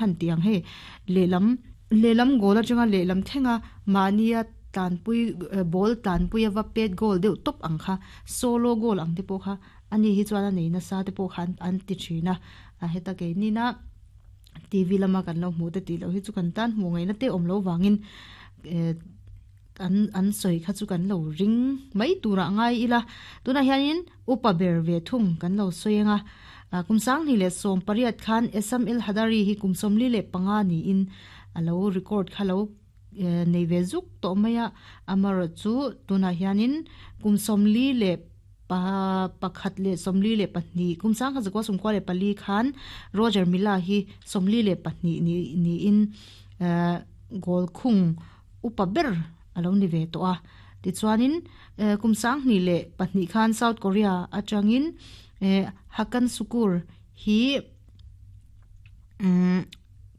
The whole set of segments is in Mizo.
Han ti ang hei lehlam lehlam goal atanga lehlam thlenga mahnia tlanpui ball tlanpui a va pet goal deuh tawp ang kha solo goal ang te pawh kha ani hi chuan a nei nasa te pawh kha an ti thin a a heta keinina T_V lama kan lo hmuh te tih loh hi chu kan tan hmuh ngaihna te awm loh vangin eh an an sawi kha chu kan lo ring mai turah ngai ila tunah hianin upa ber ve thung kan lo sawi ang a ah kum sanghnih leh sawm pariat khan Essam El Hadary hi kum 45 niin a lo record kha lo eh nei ve zuk tawh mai a amaherawh chu tunah hianin kum 41 leh kum 1994 khan Roger Milla hi 42 ni niin eh goal khung upa ber a lo ni ve tawh a. Tichuanin kum 2002 khan South Korea atangin Hakan Sukur hi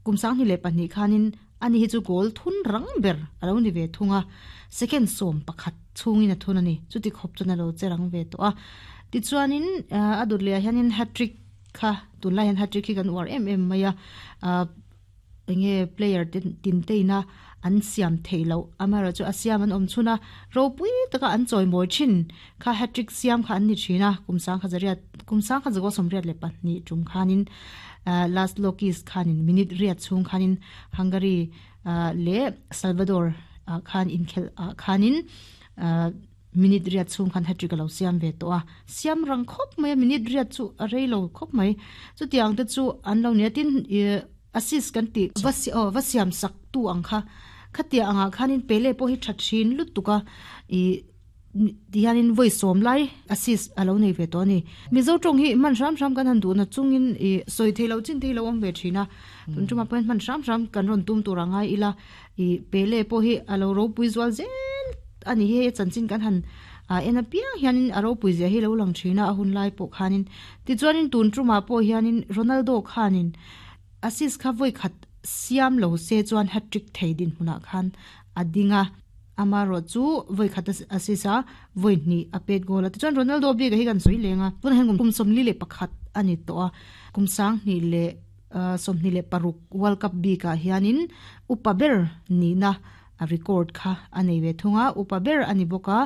kum 2002 khanin ani hi chu goal thun rang ber a lo ni ve thung a. Second 11 chhungin a thun a ni. Chuti khawp chuan a lo che rang ve tawh a. Tichuanin a dawt lehah hianin hat-trick kha tunlai hian hat-trick hi kan uar em em mai a. Enge player te tin te ina an siam theih loh amaherawh chu a siam an awm chhun a ropui taka an chawimawi thin kha hat-trick siam kha an ni thin a kum sangkhat zariat kum sangkhat zakaw sawmriat leh pahnih tum khanin ah last Lokis khanin minute riat chhung khanin Hungary ah leh Salvador ah khan inkhelh ah khanin ah Minute riat chhung khan hat-trick a lo siam ve tawh a, siam rang khawp mai a, minute riat chu a rei lo khawp mai. Chutiang te chu an lo nia, tin ih assist kan tih va aw va siam sak tu ang kha, khatia angah khanin Pele pawh hi tha thin lutuk a, ih tihianin vawi sawm lai assist a lo nei ve tawh a ni. Mizo tawng hi hman hram hram kan han duhna chungin ih sawi theih loh chin te hi lo awm ve thin a, tun tumah pawhin hman hram hram kan rawn tum tur a ngai ila. I Pele pawh hi a lo ropui zual zel a ni hei a chanchin kan han en apiang hianin a ropui zia hi lo lang thin a a hun lai pawh khanin tichuanin tun tumah pawh hianin Ronaldo khanin assist kha vawi khat siam lo se chuan hat-trick thei dinhmunah khan a ding a amaherawh chu vawi khat assist a vawi hnih a pet goal a tichuan Ronaldo bik a hi kan sawi leng a tunah hian kum 41 a ni tawh a kum 20 leh 26 World Cup bikah hianin upa ber nihna a record kha a nei ve thung a, upa ber a ni bawk a,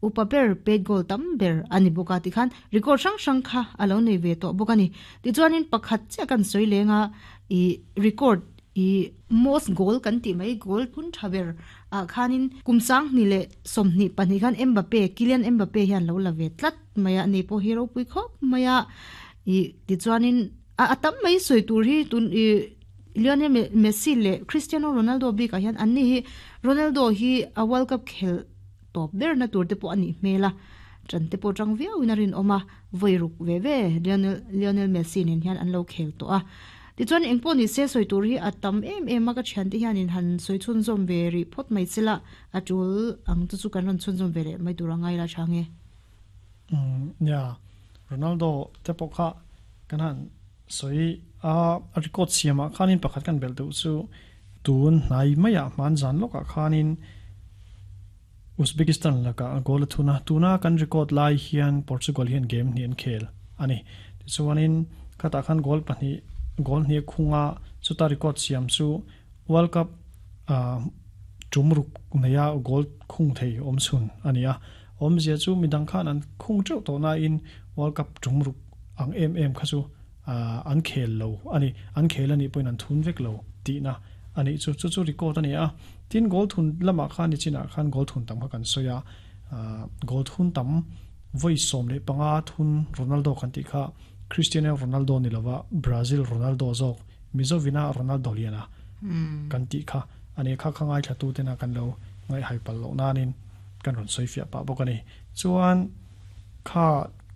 upa ber pet goal tam ber a ni bawk a tikhan record hrang hrang kha a lo nei ve tawh bawk a ni. Tichuanin pakhat chiah kan sawi leng a, ih record ih most goal kan tih mai goal phun tha ber ah khanin kum 2022 khan Mbappe, Kylian Mbappe hian lo la ve tlat mai a, ani pawh hi ropui khawp mai a, ih tichuanin A a tam mai sawi tur hi tun i Lionel Messi leh Cristiano Ronaldo bikah hian anni hi Ronaldo hi a World Cup khelh tawp berna tur te pawh a nih hmel a, ṭan te pawh ṭang viauin a rinawm a, vawi ruk ve ve Lionel Lionel Messi nen hian an lo khel tawh a. Tichuan engpawh ni se sawi tur hi a tam em em a, ka ṭhiante hianin han sawi chhunzawm ve rih phawt mai se la, a ṭul ang chu chu kan rawn chhunzawm ve leh mai tur a ngai la ṭha nge. Nia, Ronaldo te pawh kha kan han sawi a, a record siamah khanin pakhat kan belh duh chu tun hnai maiah hman zan lawkah khanin Uzbekistan lakah goal a thun a, tuna kan record lai hian Portugal hian game hnih an khel a ni. Tichuanin khatah khan goal pahnih goal hnih a khung a, chuta record siam chu World Cup tum ruk neia goal khung thei awm chhun a ni a. Awmzia chu midang khan an khung teuh tawh nain World Cup tum ruk ang em em kha chu an khel lo a ni. An khel a nih pawhin an thun vek lo tihna a nih chu. Chu chu record a ni a. Tin, goal thun lamah khan nichinah khan goal thun tam kha kan sawi a. Goal thun tam vawi 15 thun Ronaldo kan tih kha Cristiano Ronaldo ni lova Brazil Ronaldo zawk Mizovina Ronaldo liana kan tih kha a ni. Kha kha ngaithla tena kan lo ngaihhai palh loh nanin kan rawn sawi fiah pah bawk a ni. Chuan kha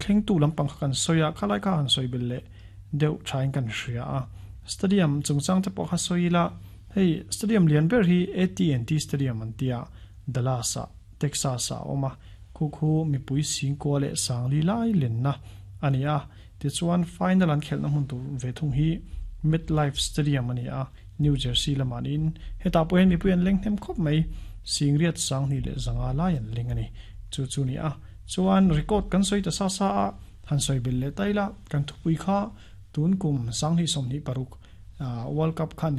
thlengtu lampang kha kan sawi a, khalai kha han sawi belh leh deuh thain kan hria a. Stadium chungchang te pawh kha sawi ila, hei stadium lian ber hi AT&T Stadium an tia, Dallas ah, Texas ah a awm a, khu khu mipui singkua leh sangli lai lenna a ni a. Tichuan final an khelhna hmun tur ve thung hi MetLife Stadium a ni a, New Jersey lamah niin hetah pawh hian mipui an leng hnem khawp mai, singriat sanghnih leh zanga lai an leng a ni. Chu chu ni a, chuan record kan sawi ta sa sa a, han sawi belh leh ta ila, kan thupui kha tun kum 2026 World Cup khan.